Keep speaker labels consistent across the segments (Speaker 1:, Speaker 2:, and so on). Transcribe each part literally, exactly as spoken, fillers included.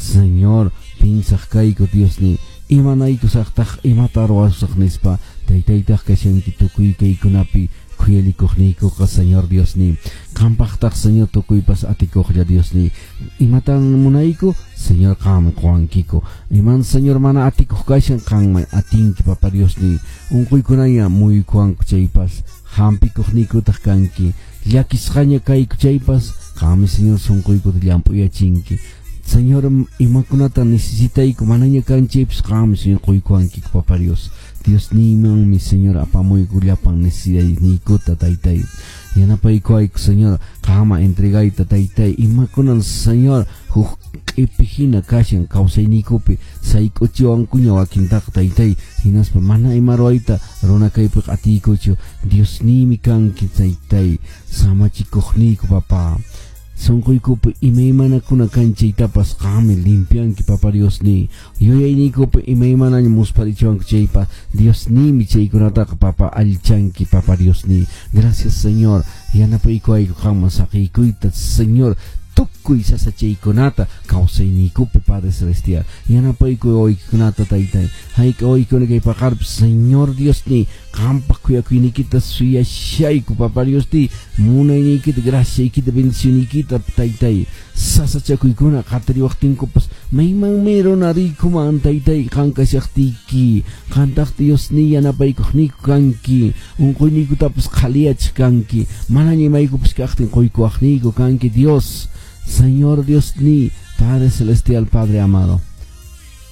Speaker 1: Señor, pinsaq kayku Diosni, imanaykusaqtaq imata ruwasaq nispa, taytaytaq kashanki tukuy kaykunapi khuyalikuqniykuqa Señor Diosni, qampaqtaq Señor tukuypas atikuqlla Diosni, imatan munayku Señor qam quwankiku, iman Señor mana atikuq kashan qanman atinki Papa Diosni, unquykunaña muykuwanku chaypas hampikuqniykutaq kanki, llakisqaña kayku chaypas qammi Señor sunquykuta llamp'uyachinki. Señor, imakunata necesitayku manaña kan chaypas qammi Señor quykuwankiku Papa Dios. Dios niymanmi Señor apamuyku llapan necesidadniykuta taytay. Yanapaykuwayku Señor qama entregayta taytay, imakunan Señor huk q'ipi hina kashan kawsayniykupi sayk'uchiwankuña wakintaqa taytay, hinaspa mana ima ruwayta runa kaypiqa atiykuchu. Dios niymi kanki taytay, samachikuqniyku Papa. Sunquykupi imaymanakuna kan chaytapas qammi limpianki Papa Diosni, yuyayniykupi imaymanaña muspharichiwanku chaypas Diosniymi chaykunataqa Papa allichanki Papa Diosni. Gracias Señor, yanapaykuwayku qamman saqiykuyta Señor tukuy sasachaykunata kawsayniykupi Padre Celestial. Yanapaykuy wawaykikunata taytay, hayk'a wawaykuna kay paqarpis Señor Diosni qampaq khuyakuyniykita suyashayku Papa Diosni, munayniykita graciaykita bendicionniykita taytay. Sasachakuykuna qatariwaqtinkupas maymanmi runa riykuman taytay qan kashaqtiyki, qantaq Diosni yanapaykuqniyku kanki, unquyniykutapas qhaliyachiq kanki, manaña imaykupas kaqtin quykuwaqniyku kanki Dios. Señor Diosni, Padre Celestial, Padre amado,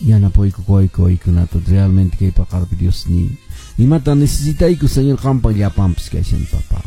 Speaker 1: yanapayku kuwayku waykunata realmente kay paqarpi Diosni. Imata necesitayku Señor qampa llapanpis kashan Papa.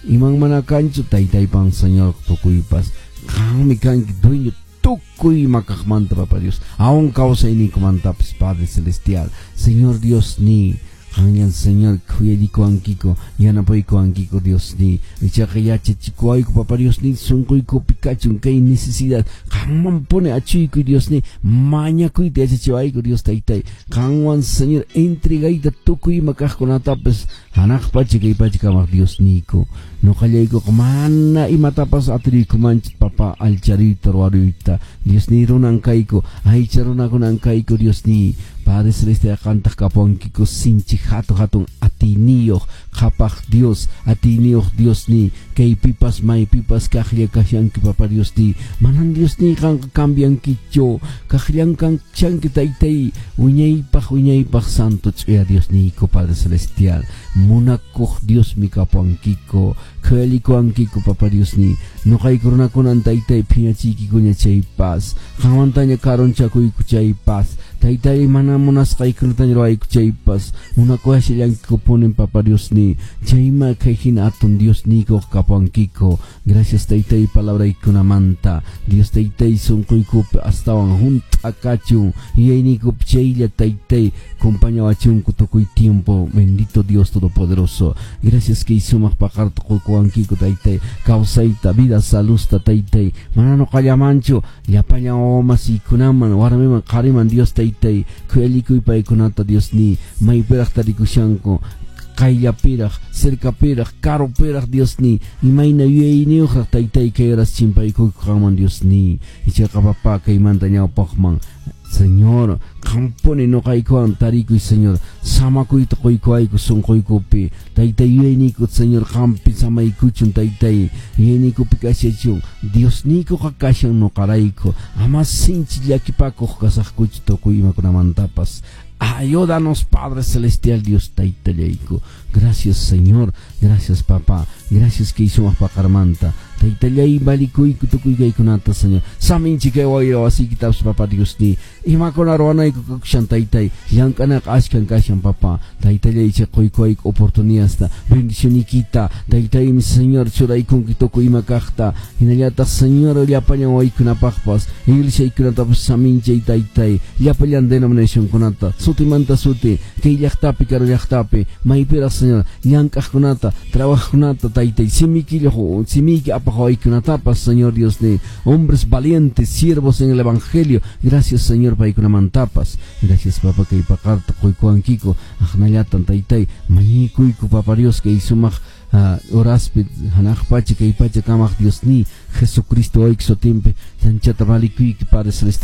Speaker 1: Iman mana kanchu taytaypan Señor tukuypas, qammi kanki dueño tukuy ima kaqmanta Papa Dios, aún kawsayninkumantapis Padre Celestial. Señor Diosni, qanllan Señor khuyallikuwankiko, yanapaykuwankiko Diosni, ichaqa yachachikuwayku Papa Diosni, sunquykupi kachun kay necesidad qanmanpuni achuykuy Diosni, mañakuyta yachachiwayku Dios taytay, qanwan Señor entregayta tukuy ima kaqkunatapis hanaq pacha kay pacha kamaq Diosniyku. Ñuqallaykuqa mana imatapas atiriykumanchik Papa allichariyta ruwaruyta Diosni, runan kayku, aycha runakunan kayku Diosni. Padre Celestial qantaq kapuwankiku sinchi hatun hatun atiyniyuq qhapaq Dios, atiyniyuq Diosni, kaypipas maypipas kaqlla kashanki Papa Diosni, manan Diosni qanqa cambiankichu, kaqllan kanchanki taytay, wiñaypaq wiñaypaq santo ch'uya Diosniyku Padre Celestial, munakuq Diosmi kapuwankiku, khuyallikuwankiku Papa Diosni, ñuqayku runakunan taytay phiñachiykikuña chaypas, qanmantaña karunchakuyku chaypas, taytay mana munasqaykunataña ruwayku chaypas, munakuwashallankikupunin Papa Diosni, chayma kay hina atun Diosniykuq kapuwankiku. Gracias taytay palabraykunamanta, Dios taytay sunquykupi astawan hunt'a kachun, yuyayniykupi chaylla taytay compañawachunku tukuy tiempo, bendito Dios Todopoderoso. Gracias kay sumaq paqarta quykuwankiku taytay, kawsayta, vida, salusta taytay, mana ñuqallamanchu llapallan wawamasiykunaman, warmiman, qhariman Dios taytay, khuyallikuy paykunata Diosni, maypiraq tarikushanku, qayllapiraq, cercapiraq, karupiraq Diosni, imayna yuyayniyuqraq taytay kay horas chimpaykuyku qanman Diosni, ichaqa Papa kaymanta ñawpaqman Señor, qampuni ñuqaykuwan tarikuy Señor, samakuyta quykuwayku sunquykupi, taytay yuyayniyku Señor qampi samaykuchun taytay, yuyayniykupi kashachun, Diosniykuqa kashan ñuqarayku, ama sinchi llakipakuq kasaqkuchu tukuy imakunamantapas. Ayúdanos, Padre Celestial, Dios taytallayku. Gracias, Señor. Gracias, Papá. Gracias que hizo paqarmanta. Taytallay valikuyku tukuy kaykunata, Señor. Saminchi kay wayra wasiykitapas, Papá Dios ni. Imakuna ruwanayku kakushan taytay. Llank'anaqa ashkan kashan, Papá. Taytallay chay quykuwayku oportunidadta, bendicionikita. Taytaymi, Señor, churaykunki tukuy ima kaqta. Hinallataq, Señor, llapallan waykunapaqpas, iglesiaykunatapas saminchay taytay. Llapallan denominacionkunata, sutimanta suti, kay llaqtapi, karu llaqtapi, maypiraq, Señor, llank'aqkunata, trabajaqkunata, taytay, simiki simiki apaq waykunatapas, Señor Dios de hombres valientes, siervos en el Evangelio. Gracias, Señor, paykunamantapas. Gracias, Papá, kay paqarta quykuwankiko, aqnallatan taytay, mañikuyku, Papa Dios, kay sumaq horaspi hanaq pacha kay pacha kamaq Dios ni Jesucristo wayki sutinpi, anchata valikuyki, Padre Celestial.